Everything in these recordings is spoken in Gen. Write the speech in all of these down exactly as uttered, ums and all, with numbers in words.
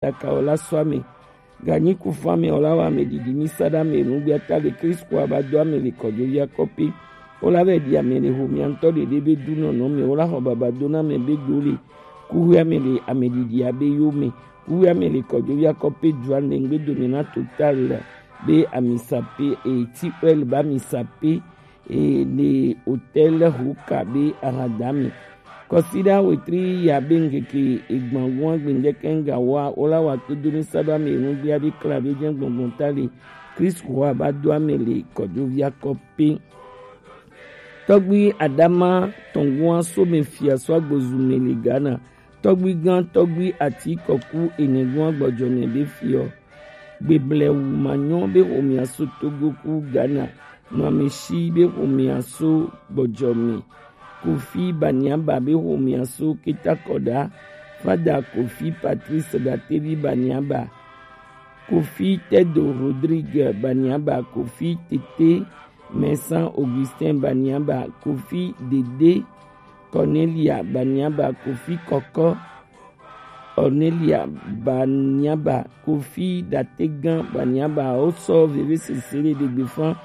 daka o la sɔ ame. Ganyi ku fɔ ame o la wɔ ame didi mi sa ɖo ame nu gbia ta le Kristo a ba do ame le kɔjo via kɔpi. O la vɛ di ame le ho mia ŋutɔ ɖeɖe be du nɔnɔ me o la xɔ baba do na ame be do le. Kuhu ame le ame didi a be yo me. Kuhu ame le kɔjo via kɔpi du ane ŋgbe do me na total be ami sa pe e ti oil ba mi sa pe e le hôtel Huka be ahadami. Kɔsiɖa wetri ya be ŋkeke egbangun agbe ŋdɛkɛ ŋga wa o la wa kpedo mi sa ɖo ame nu gbia be kla be jɛ gbɔngbɔn ta le Kristo wa ba do ame le kɔjo via kɔpi. Tɔgbi Adama tɔngua so me fia so agbozu me le Ghana. Tɔgbi gan tɔgbi ati kɔku ene gun agbɔjɔ me be fiɔ. Gbeblɛ wu ma nyɔ be xomia so Togo ku Ghana. Nɔ ame shi be xomia so gbɔjɔ me. Kofi Baniaba be xomia so Ketakɔda. Fada Kofi Patrice Datevi Baniaba. Kofi Tedo Rodrigue Baniaba, Kofi Tete Mɛsan Augustin Baniaba, Kofi Dede Cornelia Baniaba, Kofi Kɔkɔ Cornelia Baniaba, Kofi Dategan Baniaba, o sɔ veve sese le ɖegbe fan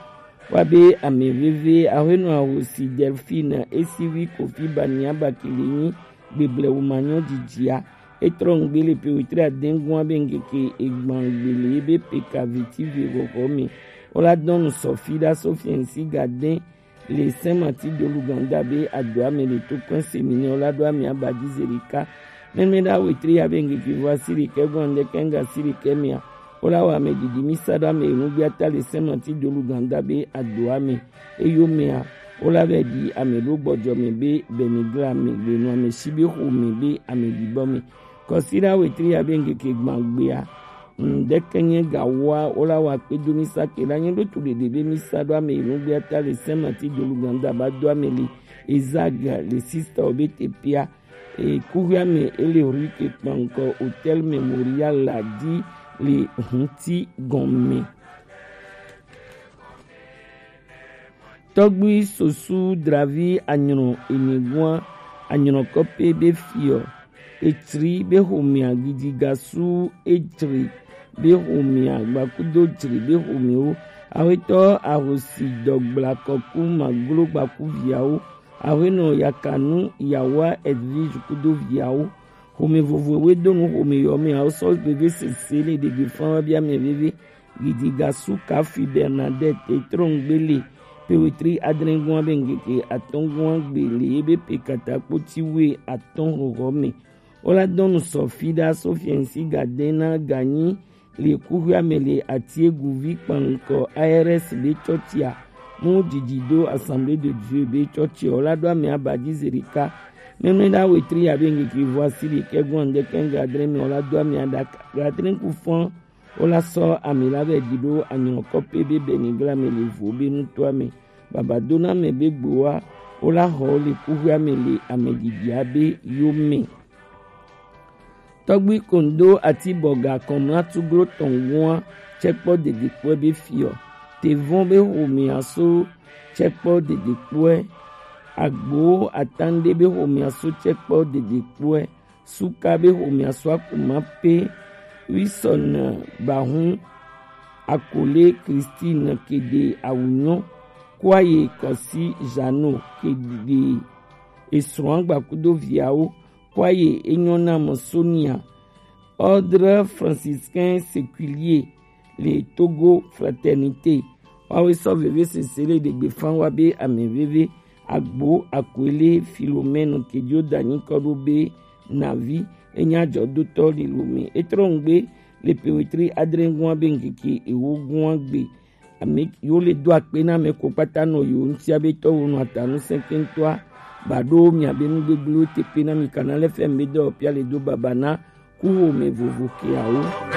wa be ame veve ahwenɔ ahosi Delphine esivi Kofi Baniaba kele nyi gbeblɛ wo ma nyɔ jijia. Etrɔ ŋgbe le pe wetri adengua be ŋkeke egban gbele be pe kaveti ve xɔxɔ me. O la dɔn nu sɔfi ɖa sɔfi ŋsi gadɛn le Saint Martin de l'Ouganda be adoa me le to kɔn séminaire o la ɖo ame aba di zerika. Mɛmɛ ɖa wetri ya be ŋkeke vo asi ɖekɛ gbɔn ŋdɛkɛ ŋga asi ɖekɛ mea. O la wɔ ame didi mi sa ɖo ame enu gbia ta le Saint Martin de l'Ouganda be adoa me. Eyo mea, o la vɛ di ame ɖo gbɔjɔ me be bɛnigla me le nu ame si be xo me be ame dibɔ me. Kɔsiɖa wetri ya be ŋkeke gban gbea. Ŋdɛkɛ nye ga wa o la wa kpe do mi sa ke la nye ɖo tu ɖeɖe be mi sa ɖo ame enu gbia ta le Saint Martin de l'Ouganda ba do ame le Ezag le sista o be te pia. E kuhia me ele rue ke kpankɔ Hôtel Mémorial la di le huti gɔn me. Tɔgbi sosu dravi anyrɔ enegua anyrɔ kɔpe be fiɔ. Etsri be xomea gidigasu etsri be xomea gbakudo tsri be xomewo. Awetɔ ahosi dɔgbla kɔku maglo gbaku viawo. Awenɔ yakanu yawa Edwige kudo viawo. Xome vovowoe do nu xome yɔ me awo sɔ veve sese le ɖegbe fan wa bia mɛ veve. Gidiga suka fi Bernadette etrɔn gbele pe wetri adrɛngua be ŋkeke atɔngua gbele ebe pe katakpo ti we atɔn xɔxɔ me. Wo la dɔn nu sɔ fi ɖa sɔ fiɛnsi ga dɛn na ganyi le kuxia me le Atiegu vi kpankɔ A R S be tsɔtsia mu didi do Assemblée de Dieu be tsɔtsia o la ɖo ame aba dzi zi ɖeka. Mɛmɛ ɖa wetri ya be ŋkeke vo asi ɖekɛ gɔn ŋdɛkɛ ŋga adrɛ me o la do ame aɖaka ga adrɛ ku fɔn. Wo la sɔ ame la vɛ ɖi ɖo anyɔkɔ pe be bɛnigla me le vo be nutoa me. Baba do na me be gboa wo la xɔ le kuxia me le ame ɖiɖia be yo me. Tɔgbi kondo ati bɔga kɔmla tuglo tɔn gua tsɛkpɔ dedekpɔɛ be fiɔ. Tevɔn be xomea so tsɛkpɔ dedekpɔɛ. Agbo atan ɖe be xomea so tsɛkpɔ dedekpɔɛ. Suka be xomea so akuma pe. Wisɔn bahun akole Christine kede awunyɔ. Kuaye kɔsi Jeannot kede esrɔ̃ agbakudo viawo. Kuaye enyɔ na mɔ Sonia. Ordre franciscain séculier le Togo Fraternité. Wawe sɔ veve sese le ɖegbe fan wa be ame veve. Agbo akwele Philomène kedio danyi kɔ ɖo be navi enya jɔ dotɔ lilo me. Etrɔ ŋgbe le pewetri adre gua be ŋkeke ewo gua gbe. Ame yo le do akpe na ame ko kpata nɔ yo ŋutia be tɔwo nɔ atanu sɛnkɛntɔa. Ba ɖo mia be nu gbegblẽwo te kpe na mi kana le fɛn be dɔ pia le do baba na kuxome vovo keawo.